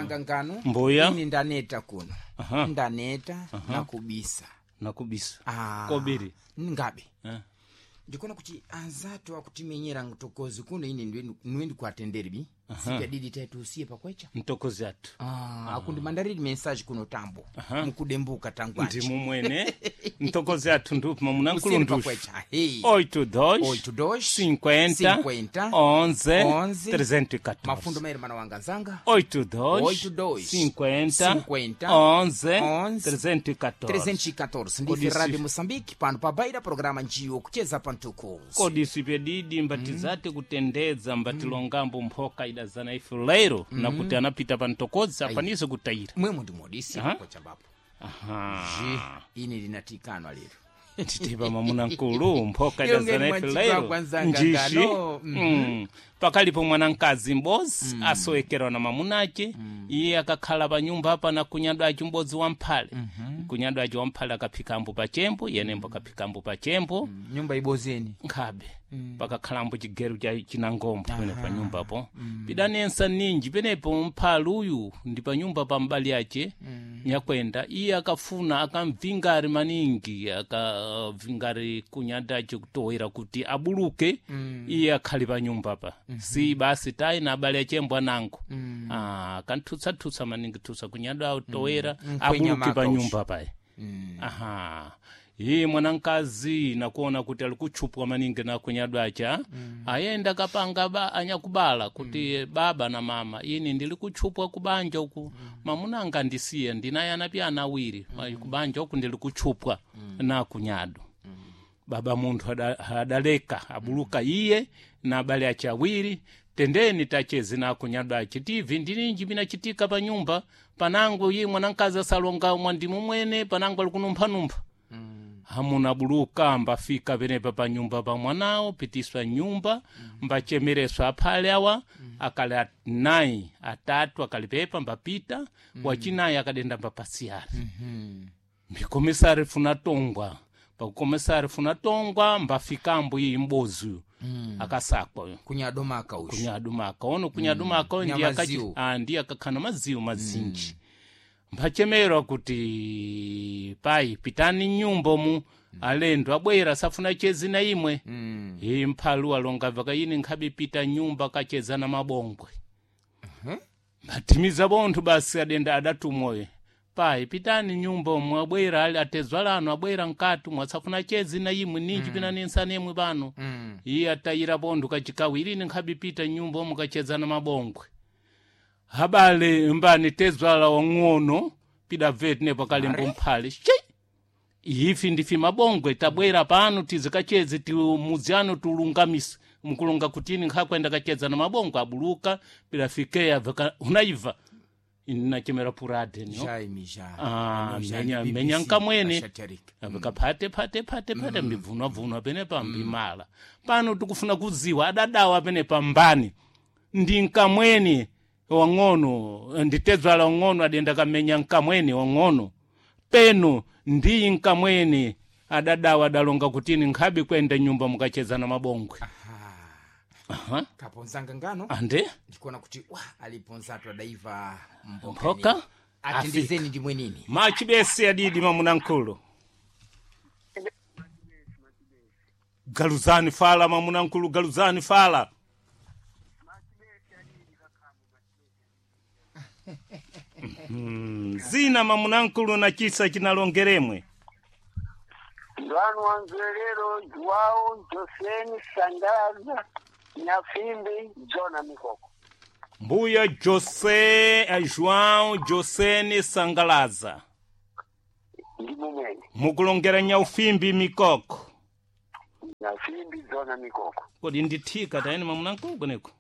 Nzanga ngano. Mbuya. Ini ndaneta kuno. Aha. Ndaneta nakubisa. Nakubisa. Ah, Kobiri. Ngabe. Eh. Ndikuona kuti anzatu akutimenyera mtokozi kuno ini ndiwe ndikuatenderi bi. Sipya taitu usiye pakwecha. Mtokozi athu. Ah, akundi mandariri message kuno tambo. Mukudembuka tangu achi. Ndimu mwene. Mtokozi athu ndupi mamunankulu Usiye ndushi. pakwecha. Hey. 82 82 50 50 11 11 314. Mafundo maere mana wanga nzanga. 82 82 50 50 11 11 314. 314 ndife Kodisi. Radio Moçambique pano pabaira programa njiwo kucheza pantukuzi. Kodisi pedidi mbatizati kutendedza mbatilongambo mphoka idazana ife lero nakuti anapita pa mtokozi afanise kutayira. Mwemo ndimodisi Aha. kwachambapo. Aha. Je, ini linatikanwa lero. Titipa mamuna nkulu mphoka Ilongeni idazana ife mwanchikwa lero kwanzanga njishi ngano. Pakalipo mwanamkazi m'bodzi asowekerwa na mamunace iye akakhala pa nyumba apa na kunyadwa aci m'bodzi wa mphale. Kunyadwa aci wa mphale akaphikambo pachembo, yenembo akaphikambo pachembo. Nyumba ibozeni. Nkhabe pakakhalambo chigeru cha chinangombo pene pa nyumbapo. Pidanensa ninji penepo mphale uyu ndi pa nyumba pa mbali yace nyakwenda iye akafuna akamvingari maningi akavingari kunyadace kutowera kuti abuluke iye akhali pa nyumba pa si basi tayi na abale achembo anango. Akanthutsathusa maningi thusa kunyada autowera Nkwenya abuluke maka pa usho. nyumba paye. Aha, iye mwanamkazi nakuona kuti ali kutchupwa maningi na kunyadwacha ayenda kapanga anyakubala kuti baba na mama ini ndili kutchupwa kubanja uku mamuna angandisiya ndinaye anapi ana awiri kubanja uku ndili kutchupwa na kunyado. Baba munthu adaleka abuluka iye na abale ace awiri tendeni tachezi na kunyadwace tivi ndininji pinachitika pa nyumba panango iye mwanamkazi asalonga mwandimu mwene panango ali kunumphanumpha. Hamuna buluka mbafika penepa pa nyumba pa mwanawo pitiswa nyumba mbachemereswa aphale awa akali anayi atatu akalipepa mbapita wachinayi akadenda mbapasiyari mbikomisari funa tongwa pakukomisari funa tongwa mbafikambo iyi mbozi akasakwa uyu Kunyadomaka usho. kunyadumaka ono kunyadumaka mm. Nya maziwu. Ndiye akakhana maziwu mazinji mbachemerwa kuti pai pitani nyumba mu alendo abwera safuna chezi na imwe. Iye mphalu alonga vakayini nkhabe pita nyumba kacheza na mabongwe mbathimiza bonthu basi adenda adatumwoyo pai pitani nyumba omwe abwera ali atezwa lano abwera nkati mwasafuna chezi na imwe ninji pinanensana imwe pano. Iye atayira bonthu kachikawiri ini nkhabe pita nyumba omwe kacheza na mabongwe habale mbani tezwala wang'ono pidabve tinepo kalembo mphale che ifi ndifi mabongwe tabwera pano tizikacheze ti muzi ano tulungamise mukulunga kutini nkhakwenda kacheza na mabongwe abuluka pidafikeya unaiva inachemera purade no Jai mija. Ah, Jai menya BBC, menya nkamwene ashatarika. akaphate phate phate phate mbivunwavunwa penepa mbimala pano tikufuna kudziwa adadawa penepa mbani ndi nkamweni wang'ono nditedzwala wang'ono adenda kamenya nkamweni wang'ono peno ndiyi nkamweni adadawa adalonga kutini nkhabe kwenda nyumba mukacheza na mabongwe. Aha. Kaponzanga ngano. Ande Ndikuona kuti wa aliponzatu adaiva mboka. Mboka? ni. Atendezeni ndimwe nini. Machibesi adidi mamunankulu galuzani fala mamunankulu galuzani fala. Zina mamunankulu na chisa chinalongeremwe Ndwanu wanzwelero Joao Joseni Sandaza Nyafimbi Jona Mikoko. Mbuya Jose João Joseni Sangalaza. Ndi mumene. Mukulongera nyaufimbi mikoko. Nyafimbi Jona Mikoko. Kodi ndithika tayeni mamunankulu kweneko.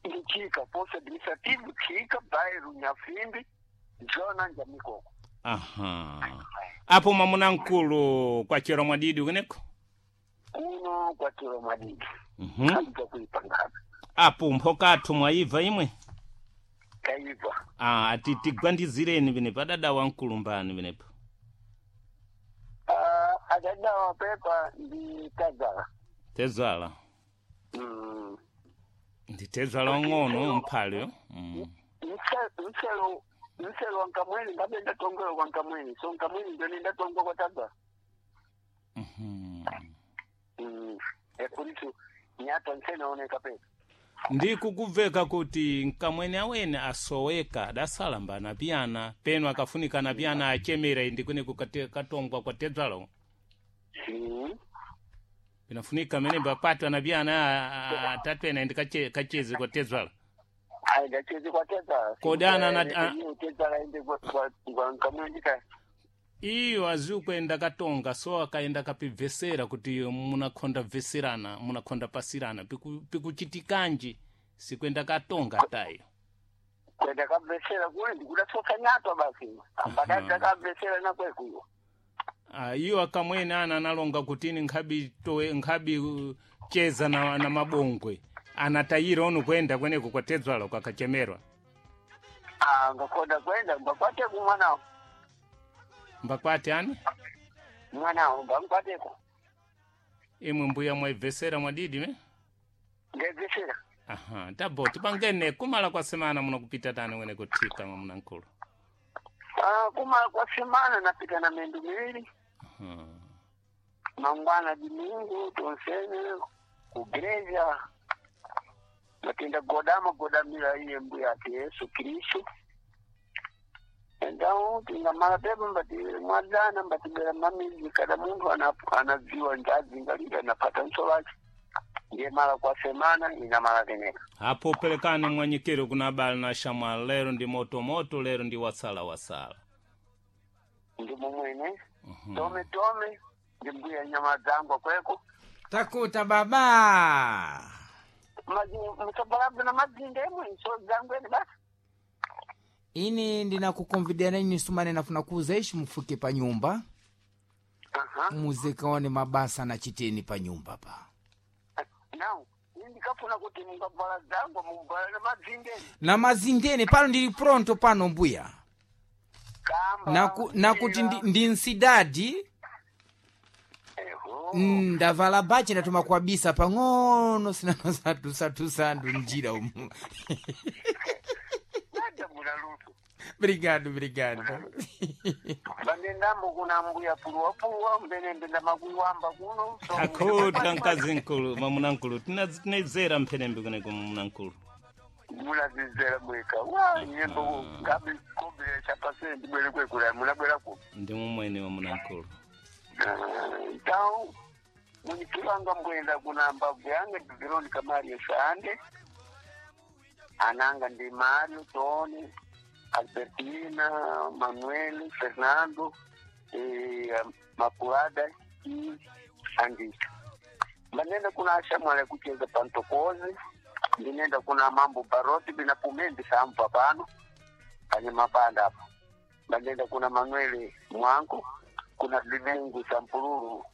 Ndichika posto administrativo chika bairro Nyafimbi Jona nja Mikoko. Aha, apo mamunankulu kwachera mwadidi kweneko. Kuno kwachero madidi. Kabza kuipangana. Apo mphokathu mwayibva imwe. Kaibva. Ah, ati tigwandizireni penepo adada wamkulu mbani penepo. Adadawa pepa ndi tazala. Tezala. Ndi tezala wang'ono mphaleyo. Mselo mselo wankamweni ngabe ndatongwela kwa nkamweni so nkamweni ndio ndatongwa kwa taba. Mhm. Ekulitu nyata nsenaoneka pesa. Ndikukubveka kuti nkamwene awene asoweka adasalamba anapiyana peno akafunika anapiyana achemera indi kwene katongwa kwa tedzalo. Pinafunika menembe akwati anapiyana atatu ena indi kachezi kwa tedzala. Aenda chezi kwa tedzala. Kodana Tedzala ende kwa nkamweni ka. Iyo azikwenda katonga so akaenda kapibvesera kuti munakhonda bveserana munakhonda pasirana pikuchitikanji sikwenda katonga tayo. Kwenda kabvesera kule ndikudasoka nyatwa basi. Ambadaza kabvesera nakwekuyo. Iyo akamwene ana analonga kuti ini nkhabi towe nkhabi cheza na mabongwe anatayira onu kwenda kweneko kwatedzwala kwakachemerwa. Ngakonda kwenda mbakwateko mwanawo. Mbakwati ani? Mwanawo mbankwateko. Imwe mbuya mwaibvesera mwadidi me? Ndebvesera. Aha, tabo tipangene kumala kwa semana munakupita tani wene kuthika mwamunankulu. Kumala kwa semana napita na mendu miwili. Aha. Mangwana dimingu tonsene kugreja matenda godama godamira iye mbuya ati Yesu Kristu. Então tingamala pepo mbati mwadzana mbatibera mamizi kada munthu anadziwa ndadzingalira anapata nso lake ndiye mala kwa semana inamala keneka. Apo pelekani mwanyikiro kuna abale na shamwali lero ndi motomoto lero ndi wasala wasala. Ndi mumwene tome tome ndi mbuya nyama dzangu akweko. Takuta baba. Msabalabza na madzinda emwe nso dzangu ene basi. Ini ndinakukonvidera ini sumane nafuna kuuza ishi mufuke pa nyumba. Muzikaone mabasa na chiteni pa nyumba pa. Now, ndikafuna kuti mungabvala dzangu mungabvala na madzindeni. Na mazindeni pano ndili pronto pano mbuya. Kamba. Nakuti ndi nsidadi. Eho. Ndavala bachi ndatuma kuabisa pang'ono sinanosatusatusandu njira umu. Nada muna luso. Brigado, brigado. Bandendambo kuna mbuya puluwa puluwa mbene mbenda makuiwamba kuno. So, Akhuta mkazi nkulu mwamunankulu tinazera mphenembe kuneko mwamunankulu. Munazizera mweka. Wa nyembo ngabe kombere chapase ndibwere kwekula munabwera ku. Ndi mumwene mwamunankulu. Então munyikilanga mbwenda kuna mbavu yange ndi Veronica Mario Sande. Ananga ndi Mario Tony Albertina Manuel Fernando Makulada i Andika. Banenda kuna ashamwale kucheza pantokozi ndinenda kuna mambo baroti bina pumendi sampa pano panye mabanda apo. Banenda kuna Manuel Mwanko kuna Limengu Sampululu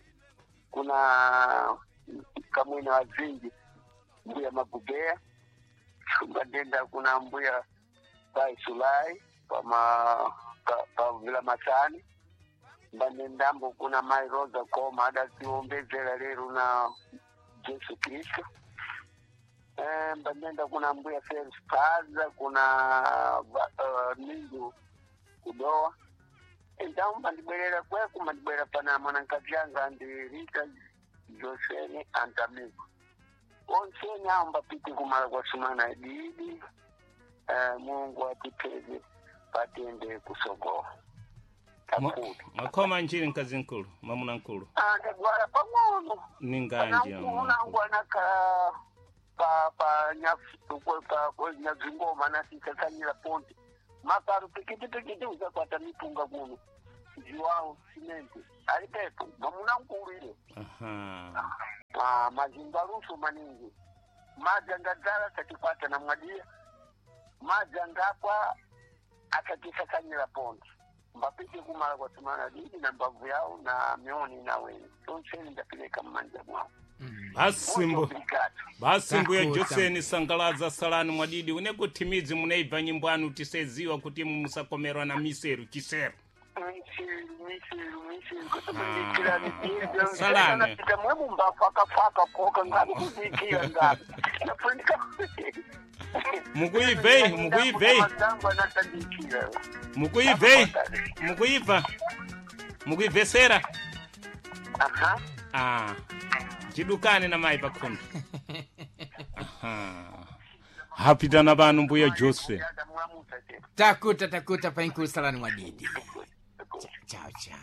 kuna Kamwina wa Zingi mbuya Magubea bandenda kuna mbuya Pai Sulai pa Vila Masani bandendambo kuna Mai Rosa Koma adaziombezera lero na Jesu Kristo. Bandenda kuna mbuya Felix Paza kuna Mindu Kudoa. Então bandibwerera kweku bandibwerera pana mwanankazi yanga ndi Rita Josene Antamigo onsene awo mbapite kumala kwa sumana ididi. Mungu atipeze patende kusogola. Mwakhoma nchini mkazi nkulu mwamunankulu. Ndagwara pang'ono. Ninganje Nangu anakhala pa pa nyazingoma nasisasanyira ponte makaru pikiti pikiti uzakwata mipunga kuno ziwawo simenti ali pepo mwamunankulu ile. Aha. Mazingaluso maningi madzi angadzala satikwata na mwadia madzi angapwa akatisasanyira ponte mbapite kumala kwa semana didi na mbavu yawo na mioni na weni tonseni ndapileka mmanja mwawo. Basi mbuya Joseni sangalaza salani mwadidi unekuti midzi munaibva nyimbo anu tiseziwa kuti musakomerwa na miseru chisero. Misiru, misiru, misiru, kutumikira Salane. Napita mwe mumbafakafaka koka ngabe kuzikira ngabe. Nafunika. Mukuibvei, mukuibvei. Mazangu anatandikira. Mukuibvei, mukuibva, mukuibvesera. Aha. Ah, jidukane na mai pakhombe. Aha. Hapitana pano mbuya Jose. Mwamuta te. Takuta takuta painkusalani mwadidi. Chao chao.